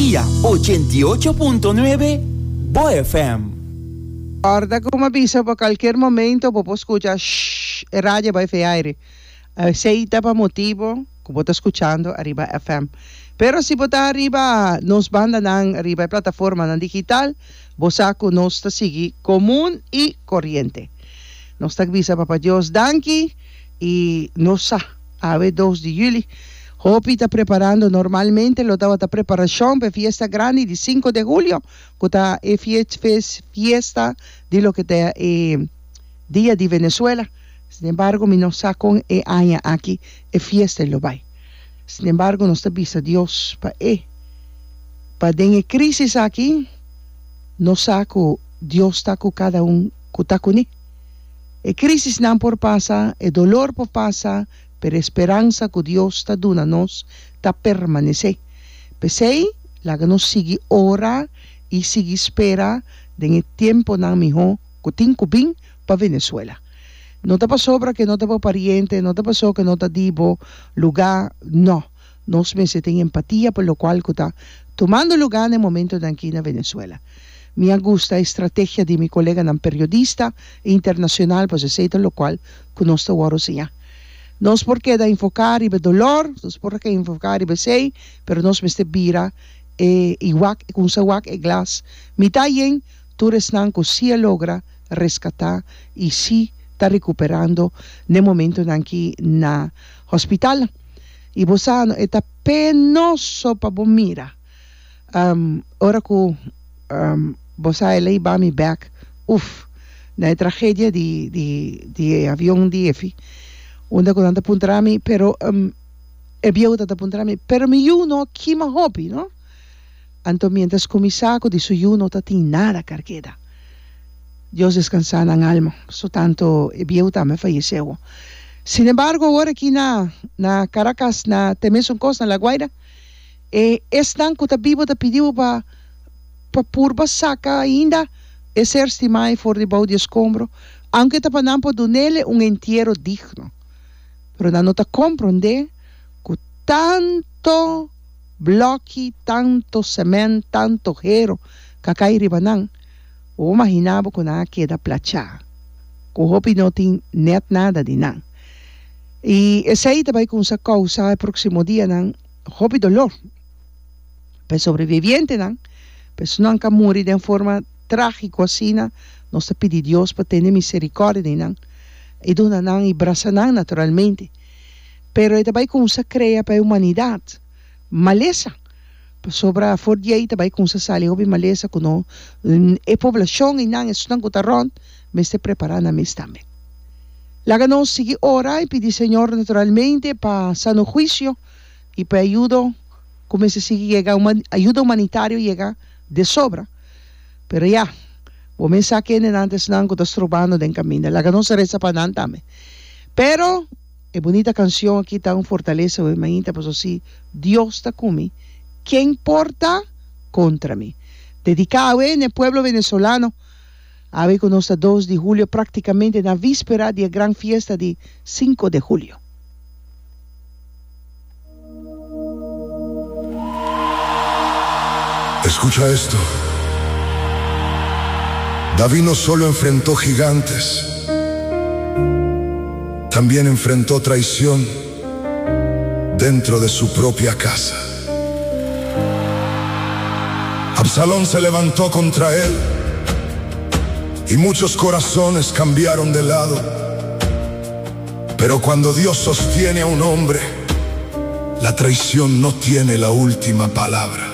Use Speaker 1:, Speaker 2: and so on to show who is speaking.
Speaker 1: Energia 88.9 Bo FM.
Speaker 2: Corda cu mi a bisa pa cualkier momento bo por scucha shhh e radio a bay fe aire. Esey ta pa motibo cu bo ta scuchando ariba FM. Pero si bo ta ariba nos bandanan riba e plataformanan digital bo sa cu nos ta sigui comun y coriente. Nos ta bisa Papa Dios danki y nos sa. Awe dos di juli. Hopi ta preparando normalmente lo tabata preparashon pa e fiesta grandi di sinku de julio ku ta e fiesta di loke ta e dia di Venezuela. Sinembargo mi no sa kon e aña aki e fiesta lo bai. Sinembargo nos ta bisa Dios pa e pa den e crisis aki nos sa ku Dios ta ku kada un ku ta kuné. E crisisnan por pasa, e dolor por pasa, pero e speransa cu Dios ta duna nos ta permanece. P'esey, laga nos sigui ora y sigui spera den e tiemponan miho cu tin cu bin pa Venezuela. No ta pasobra cu e no ta bo pariente, no ta pasobra cu e no ta di bo luga, no. Nos mester tin empatia pa locual cu ta tumando luga na e momentonan aki na Venezuela. Mi a gusta e strategia di mi coleganan periodista internacional pasobra esey ta locual cu nos ta worde siña. Nos por keda enfoca riba e dolor, nos por keda enfoca riba esey, pero nos mester bira e y wak, cuminsa wak e glas mitad yen, tur esnan cu si a logra rescata y si ta recuperando n'e momentonan aki na hospitalnan. Y bo sa no e ta penoso pa bo mira ora cu bo sa e ley ba mi bek uf na e tragedia di di di e avion di Efi unda cu nan ta puntra mi pero e bieu ta ta puntra mi pero mi yu no kima hopi no anto mientras cu mi sa cu di su yu no ta tin nada carkeda. Dios descansá nan alma. So tanto e bieu tambe a fayecé awo. Sin embargo awor aki na na Caracas na te mesun cos na La Guaira e esnan cu ta bibo ta pidi bo pa pa purba saca ainda e ser stimá ei for di bou di escombro aunke ta pa nan por dunele un entiero digno. Pero nan no ta comprende cu tanto bloki, tanto cement, tanto hero ca cay riba nan. Bo por maginá bo ku nan a keda plachá, ku hopi no tin nèt nada di nan. I esei ta bai kumsa kousa e próksimo dianan hopi dolor pa e sobrevivientenan, pa esunnan ku a muri den forma trágiko asina. Nos ta pidi Dios pa tene miserikòrdia di nan i duna nan i brasa nan naturalmente. Pero e ta bai kumsa krea pa e humanidat malesa. Pasobra for di ei ta bai kumsa sali hopi malesa ku no e poblashon einan, esunnan ku ta rònt, mester prepará nan mes tambe. Laga nos sigui ora i pidi Señor naturalmente pa sano huisio i pa e ayudo ku mester sigui yega, ayudo humanitario yega de sobra. Pero ya, bo mes sa kendenan ta esnan ku ta strobando den kaminda. Laga nos resa pa nan tambe. Pero. E bunita cancion aki ta un fortalesa hoy mainta paso si Dios ta cu mi ken por ta contra mi. Dedica awe n'e pueblo venezolano awe cu nos ta dos di julio practicamente na vispera di e gran fiesta di cinco de julio.
Speaker 3: Escucha esto. David no solo enfrentó gigantes, también enfrentó traición dentro de su propia casa. Absalón se levantó contra él y muchos corazones cambiaron de lado. Pero cuando Dios sostiene a un hombre, la traición no tiene la última palabra.